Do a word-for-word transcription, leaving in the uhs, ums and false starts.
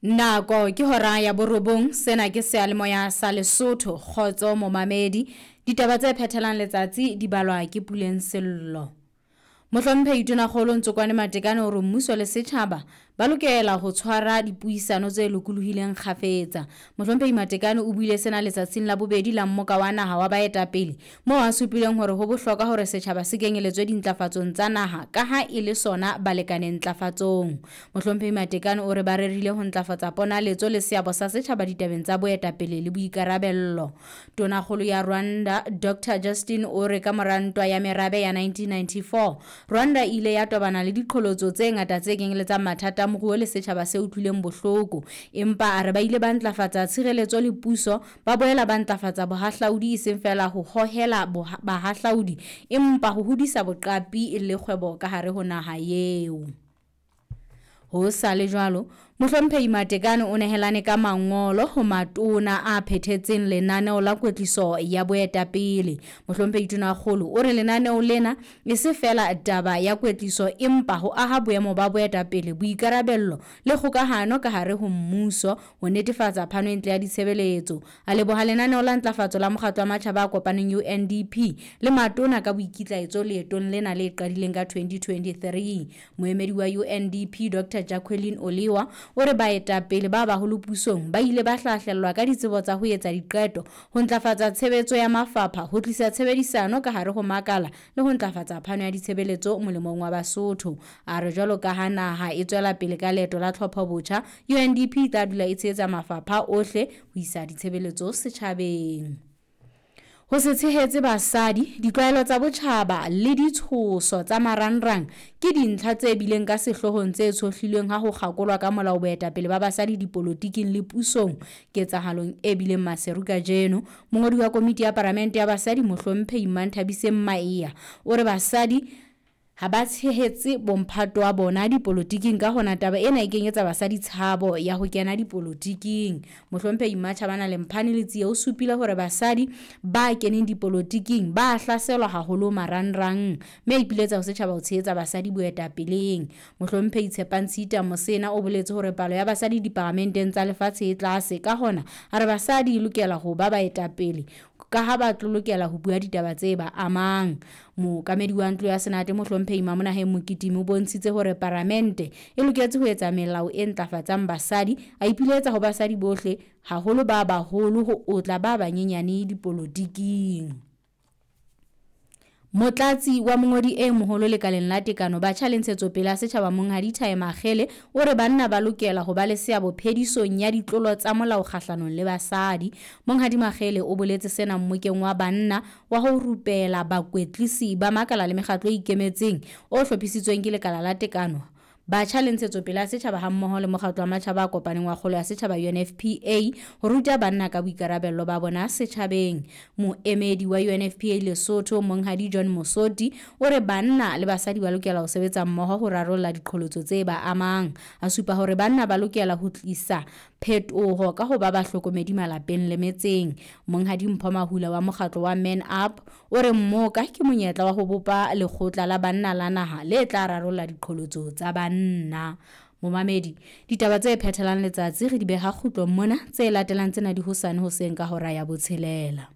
Nako ke hora ya borobong, sena ke seyalemoya sa Lesotho. Kgotso momamedi. Ditaba tse phethelang letsatsi di balwa ke Puleng Sello. Mohlomphehi Tonakgolo Ntsokoane Matekane o re mmuso le setjhaba ba lokela ho tshwara dipuisano tse lokolohileng kgafetsa. Mohlomphehi Matekane o buile sena letsatsing la bobedi la mmoka wa naha wa baetapele, moo a supileng hore ho bohlokwa hore setjhaba se kenyeletswe dintlafatsong tsa naha ka ha e le sona balekane ntlafatsong. Mohlomphehi Matekane o re ba rerile ho ntlafatsa ponaletso le seabo sa setjhaba ditabeng tsa boetapele le boikarabello. Tonakgolo ya Rwanda Doctor Justin o re ka mora ntwa ya merabe ya nineteen ninety-four, Rwanda e ile ya tobana le diqholotso tse ngata tse kenyeletsang mathata a moruo le setjhaba se utlwileng bohloko, empa a re ba ile ba ntlafatsa tshireletso le puso, ba boela ba ntlafatsa bohahlaudi e seng feela ho hohela boha-, bahahlaudi empa ho hodisa boqapi le kgwebo ka hare ho naha eo. Ho sa le jwalo, Mohlomphehi Matekane o nehelane ka mangolo ho matona a phethetseng lenaneo la kwetliso ya boetapele. Mohlomphehi Tonakgolo o re lenaneo lena e se feela taba ya kwetliso empa ho aha boemo ba boetapele, boikarabello le kgokahano ka hare ho mmuso ho netefatsa phano e ntle ya ditshebeletso. A leboha lenaneo la ntlafatso la mokgatlo wa matjhaba a kopaneng U N D P le matona ka boikitlaetso leetong lena le qadileng ka twenty twenty-three. Moemedi wa U N D P Doctor Jacqueline Oliwa o re baetapele ba baholo pusong ba ile ba hlahlellwa ka ditsebo tsa ho etsa diqeto, ho ntlafatsa tshebetso ya mafapha, ho tlisa tshebedisano ka hare ho makala le ho ntlafatsa phano ya ditshebeletso molemong wa Basotho. A re jwalo ka ha naha e tswela pele ka leeto la tlhopho botjha, U N D P e tla dula e tshehetsa mafapha ohle ho isa ditshebeletso setjhabeng. Ho se tshehetse basadi, ditlwaelo tsa botjhaba le ditshoso tsa marangrang ke dintlha tse bileng ka sehloohong tse tshohlilweng ha ho kgakolwa ka molao boetapele ba basadi dipolotiking le pusong ketsahalong e bileng Maseru kajeno. Mongodi wa komiti ya Palamente ya Basadi Mohlomphehi Manthabiseng Maea o re basadi ha ba tshehetse bomphato wa bona dipolotiking, ka hona taba ena e kenyetsa basadi tshabo ya ho kena dipolotiking. Mohlomphehi Mmatjhabana Lemphane Letsie o supile hore basadi ba keneng dipolotiking ba hlaselwa haholo marangrang, mme a ipiletsa ho setjhaba ho tshehetsa basadi boetapeleng. Mohlomphehi Tshepang Tshita Mosena o boletse hore palo ya basadi diparamenteng tsa lefatshe e tlase, ka hona a re basadi e lokela ho ba baetapele ka ha ba tlo lokela ho bua ditaba tse ba amang. Mookamedi wa ntlo ya Senate Mohlomphehi Mamonaheng Mokitimi o bontshitse hore paramente e loketse ho etsa melao e ntlafatsang basadi, a ipiletsa ho basadi bohle haholo ba baholo ho otla ba banyenyane dipolotiking. Motlatsi wa mongodi e moholo lekaleng la tekano batjha le ntshetsopele ya setjhaba Monghadi Thai Makgele o re banna ba lokela ho ba le seabo phedisong ya ditlolo tsa molao kgahlanong le basadi. Monghadi Makgele o boletse sena mmokeng wa banna wa ho rupela bakwetlisi ba makala le mekgatlo e ikemetseng o hlophisitsweng ke lekala la tekano batjha le ntshetsopele ya setjhaba hammoho le mokgatlo wa matjhaba a kopaneng wa kgolo ya setjhaba U N F P A ho ruta banna ka boikarabello ba bona setjhabeng. Moemedi wa U N F P A Lesotho Monghadi John Mosoti o re banna le basadi ba lokela ho sebetsa mmoho ho rarolla diqholotso tse ba amang. A supa hore banna ba lokela ho tlisa phetoho ka ho ba bahlokomedi malapeng le metseng. Monghadi Mpho Mahula wa mokgatlo wa Man Up o re mmoka ke monyetla wa ho bopa lekgotla la banna la naha le tla rarolla diqholotso tsa banna. Momamedi, ditaba tse phethelang letsatsi re di beha kgutlong mona, tse latelang tsena di hosane hoseng ka hora ya botshelela.